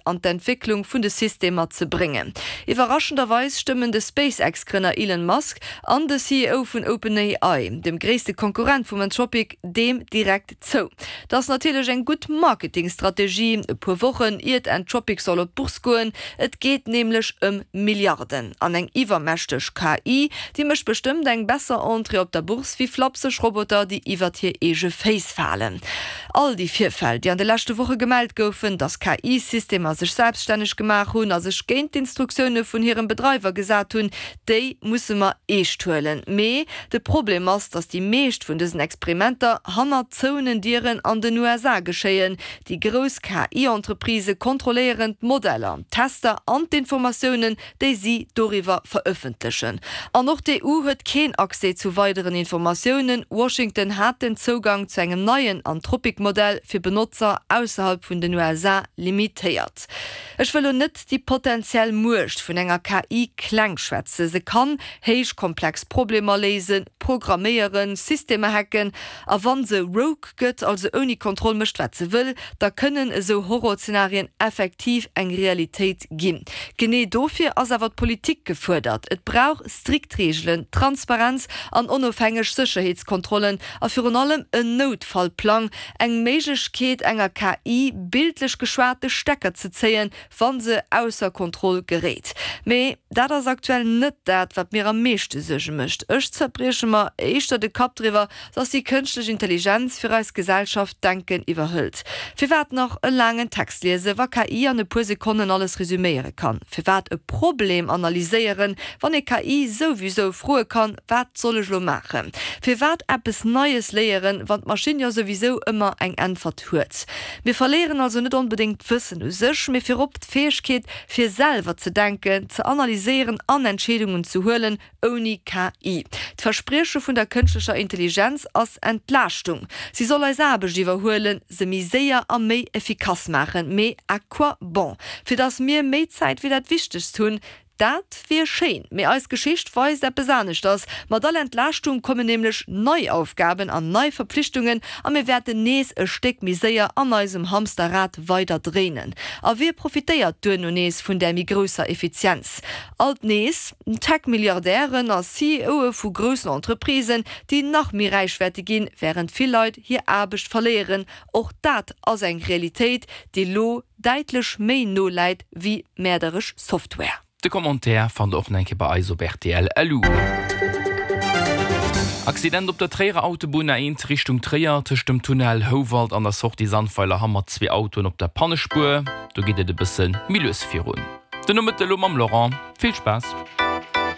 an d'Entwécklung vun de Systemer ze bréngen. Iwwerraschenderweis stëmmen de SpaceX-Grënner Elon Musk an de CEO vun OpenAI, dem gréisste Konkurrent vum Anthropic, deem direkt zou. Dat ass natierlech eng gutt Marketingstrategie, e puer Wochen iert Anthropic soll op d'Bourse goen. Et geet nämlech ëm Milliarden. An eng iwwermächteg KI, déi mécht bestëmmt eng besser Entrée op der Bourse wéi flapseg Roboter, déi iwwert hir eege Féiss falen. All déi Virfäll, déi an de leschte Woche gemellt goufen, datt KI-Systemer sech selbststänneg gemaach hunn a sech géint d'Instruktioune vun hirem Bedreiwer gesat hunn, Déi musse mer eescht huelen. Mee de Problem ass, datt déi meescht vun dësen Experimenter hannert zouenen Dieren an den USA geschéien. Déi grouss KI-Entreprisë kontrolléieren d'Modeller, d'Tester an d'Informatiounen, déi si doriwwer verëffentlechen. An och d'EU huet keen Accès zu weideren Informatiounen. Washington hat den Zougang zu engem neien Anthropic-Modell fir Benotzer ausserhalb vun den USA limitéiert. Ech wëll lo net déi potentiell Muecht vun enger KI kleng schwätzen. Se kann héich komplex Problemer léisen, programméieren, Systemer hacken a wann se rogue gëtt, also ouni Kontroll mécht wat se wëll, da kënnen esou Horrorzenarien effektiv eng Realitéit ginn. Genee dofir ass awer d'Politik gefuerdert. Et brauch strikt Reegelen, Transparenz an onofhängeg Sécherheetskontrollen a virun allem en Noutfallplang, Eng Méiglechkeet enger KI, bildlech geschwat, de Stecker ze zéien, wa se ausser Kontroll geréit. Mee dat ass aktuell net dat, wat mir am meeschte Suerge mécht. Ech zerbrieche mer éischter de Kapp driwwer, dass déi kënschtlech Intelligenz fir eis Gesellschaft d'Denken iwwerhëlt. Firwat nach e laangen Text liese wa KI an e puer Sekonnen alles resüméiere kann? Firwat e Problem analyséieren, wann ee KI souwisou froe kann, Wat soll ech lo maachen? Firwat eppes Neies léieren, wann d'Maschinn jo souwisou ëmmer eng Äntwert huet? Mir verléieren also net onbedéngt d'Wëssen u sech, mee virop d'Fäegkeet, fir selwer ze denken, ze analyséieren an Entscheedungen ze huelen, ouni KI. D'Versprieche vun der kënschtlecher Intelligenz ass Entlaaschtung. Si soll eis Aarbecht iwwerhuelen, se méi séier a méi effikass maachen. Mee à quoi bon? Fir datt mir méi Zäit fir dat Wichtegst hunn, Dat wier schéin, mee eis Geschicht weist eppes aneschters. Mat all Entlaaschtung kommen nämlech nei Aufgaben an nei Verpflichtungen a mir wäerten nees e Stéck méi séier an eisem Hamsterrad weider dréinen. A wie profitéiert duerno nees vun där méi grousser Effizienz? Alt nees Tech-Milliardären a CEOe vu groussen Entreprisen, déi nach méi räich wäerte ginn, wärend vill Leit hir Aarbecht verléieren. Och dat ass eng Realitéit, déi lo däitlech méi no läit wéi mäerderesch Software. De Commentaire fannt der och nach eng Kéier bei eis op rtl. Lu. Accident op der Tréierer Autobunn A1 Richtung Tréier, tëscht dem Tunnel Houwald an der Sortie Sandweiler-Hamm mat zwee Autoen op der Pannespuer. Do geet et e bësse méi lues virun. Den Nomëtte elo mam Laurent. Vill Spaass!